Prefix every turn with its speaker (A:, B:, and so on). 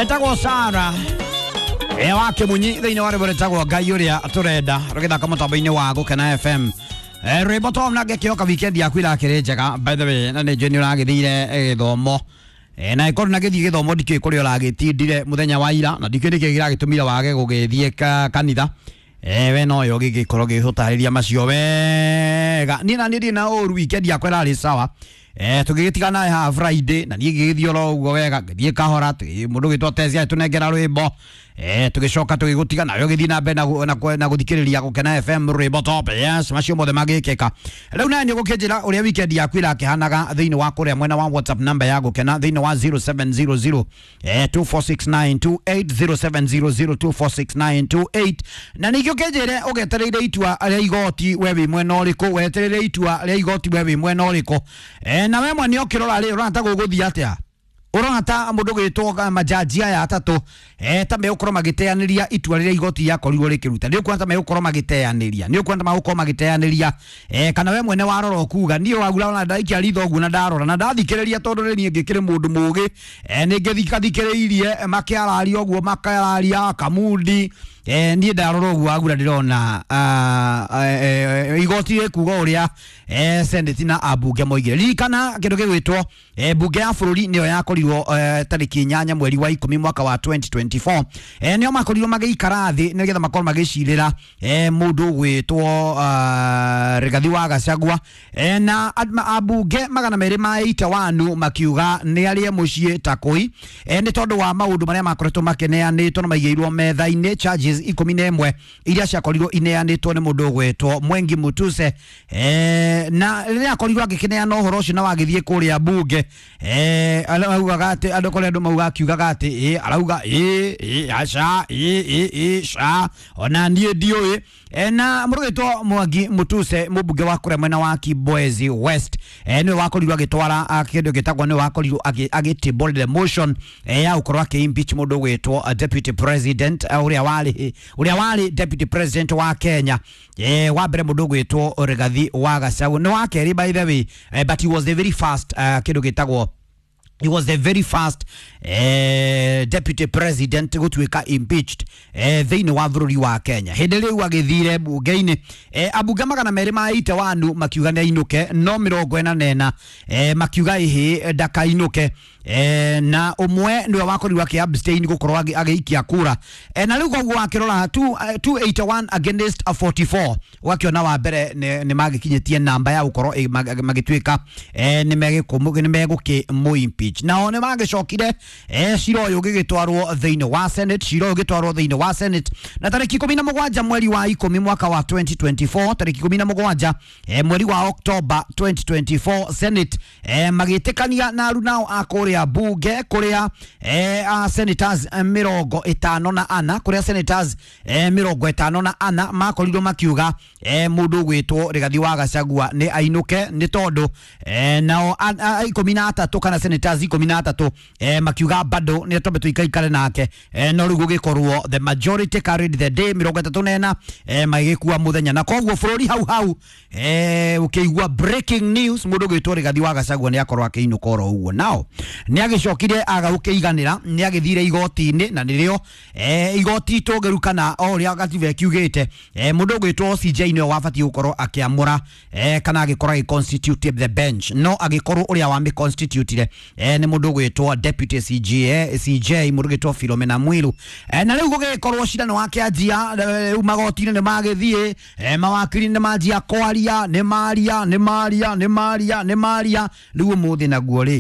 A: Etagwo Sara e wa Kimunyi thĩinĩ wa rwĩmbo rwĩtagwo Ngai ũrĩa tũrenda rũgĩthaka mũtambo-inĩ wa Gũkena FM. Rwĩmbo to na ngĩkĩhoka weekend yaku irakĩrĩ njega, by the way, na nĩ njũĩ nĩ ũragĩthire gĩthomo. Na ĩkorwo na gĩthiĩ gĩthomo ndikĩũĩ kũrĩa ũragĩtindire mũthenya wa ira, na ndikĩũĩ nĩkĩĩ kĩragĩtũmire wage gũgĩthiĩ kanitha. We noyo gĩgĩkorwo gĩgũtarĩria macio wega. Niĩ na niĩ ndirĩ na ũru, weekend yakwa ĩrarĩ sawa. Tũgĩgĩtigana nawe haha Friday na niĩ ngĩgĩthiĩ oro ũguo wega, ngĩthiĩ kahora, mũndũ ũgĩtwo Tesi agĩtũnengera rwĩmbo. Tũgĩcoka tũgĩgũtiga nawe ũgĩthiĩ na mbere na gũthikĩrĩria Gũkena FM rwĩmbo top. Yes, macio mothe magĩkĩka. Rĩu nawe nĩ ũgũkĩnjĩra ũrĩa weekend yaku ĩrakĩhanaga thĩinĩ wa kũrĩa mwena wa WhatsApp namba ya Gũkena thĩinĩ wa 0700 246928 0700 246928, na ningĩ ũkĩnjĩre ũgetereire itua rĩa igoti we wĩ mwena ũrĩkũ, wetereire itua rĩa igoti we wĩ mwena ũrĩkũ. Na we mwene ũkĩrora rĩ, ũrona ta gũgũthiĩ atĩa? Ũrona ta mũndũ gwĩtwo majaji aya atatũ ta megũkorwo magĩteanĩria itua rĩrĩa igoti rĩakorirwo rĩkĩruta? Nĩ ũkuona ta megũkorwo magĩteanĩria? Nĩ ũkuona ta megũkorwo magĩteanĩria? Kana we mwene warora ũkuga niĩ wagura ona ndaikia ritho ũguo na ndarora na ndathikĩrĩria, tondũ rĩ niĩ ngĩkĩrĩ mũndũ mũgĩ, nĩ ngĩthikathikĩrĩirie makĩararia ũguo makĩararia Kamundi, niĩ ndarora ũguo wagura ndĩrona igoti rĩkuga ũrĩa Senate na ambunge moigire. Ririkana kĩndũ gĩgwĩtwo mbunge ya bũrũri nĩyo yakorirwo tarĩki 8 mweri wa 10 mwaka wa 2024, nĩo makorirwo magĩikara thĩ nĩgetha makorwo magĩcirĩra mũndũ ũgwĩtwo Rigathi wa Gachagua, na ambunge 281 makiuga nĩ arĩe mũciĩ ta kũi, nĩ tondũ wa maũndũ marĩa makoretwo makĩneanĩtwo na maigĩirwo metha-inĩ, charges 11 iria ciakorirwo ineanĩtwo nĩ mũndũ ũgwĩtwo Mwengi Mutuse. Na rĩrĩa akorirwo agĩkĩneana ũhoro ũcio na wagĩthiĩ kũrĩa mbunge, araugaga atĩ andũ kũrĩa andũ mauga akiugaga atĩ ĩ arauga ĩ ĩ aca ĩ ĩ ĩ ca ona niĩ ndiũĩ. Na mũrũgĩtwo Mwangi Mutuse, mũmbunge wa kũrĩa mwena wa Kibwezi West, nĩwe wakorirwo agĩtwara kĩndũ gĩtagwo, nĩwe wakorirwo agĩtable the motion ya gũkorwo akĩ-impeach mũndũ ũgwĩtwo deputy president, ũrĩa warĩ deputy president wa Kenya, wa mbere mũndũ ũgwĩtwo Rigathi wa Gachagua. Nĩ wa kerĩ, by the way, but he was the very first, kĩndũ gĩtagwo, he was the very first deputy president gũtuĩka impeached thĩinĩ wa bũrũri wa Kenya. Hĩndĩ rĩu agĩthire mbunge-inĩ, ambunge 281 makiuga nĩ ainũke, no 44 makiuga ĩhĩ ndakainũke, na ũmwe nĩwe wakorirwo akĩ abstain gũkorwo agĩikia kura. Na rĩu koguo wakĩrora 281 against 44, ũgakĩona wa mbere nĩ magĩkinyĩtie namba ya gũkorwo magĩtuĩka nĩ megũkĩmũ impeach. Nao nĩ magĩcokire, cira ũyũ ũgĩgĩtwarwo thĩinĩ wa Senate, cira ũyũ ũgĩtwarwo thĩinĩ wa Senate na tarĩki 17 mweri wa 10 mwaka wa 2024, tarĩki 17 mweri wa October 2024, Senate magĩtĩkania na arunao a kũrĩa bunge kũrĩa a senators 54, kũrĩa senators 54 makorirwo makiuga mũndũ ũgwĩtwo Rigathi wa Gachagua nĩ ainũke, nĩ tondũ nao 13 kana senators 13 makiuga bado nĩ twambe tũikaikare nake. No rĩu gũgĩkorwo the majority carried the day, 34 magĩkua mũthenya, na koguo bũrũri hau hau ũkĩigua breaking news, mũndũ ũgwĩtwo Rigathi wa Gachagua nĩ akorwo akĩinũka oro ũguo. Nao nĩ agĩcokire aga gũkĩiganĩra, nĩ agĩthire igoti-inĩ, na nĩrĩo igoti tũngĩrukana o ũrĩa gatiba ĩkiugĩte, mũndũ ũgwĩtwo CJ nĩwe wabatiĩ gũkorwo akĩamũra kana agĩkorwo agĩ constitute the bench, no agĩkorwo ũrĩa wamĩ constitutire nĩ mũndũ ũgwĩtwo deputy CJ, CJ mũndũ ũgwĩtwo Philomena Mwilu. Na rĩu gũgĩkorwo cira nĩ wakĩanjia, rĩu magoti-inĩ nĩ magĩthiĩ, mawakiri nĩ manjia kwaria, nĩ maria nĩ maria nĩ maria nĩ maria. Rĩu ũmũthĩ naguo rĩ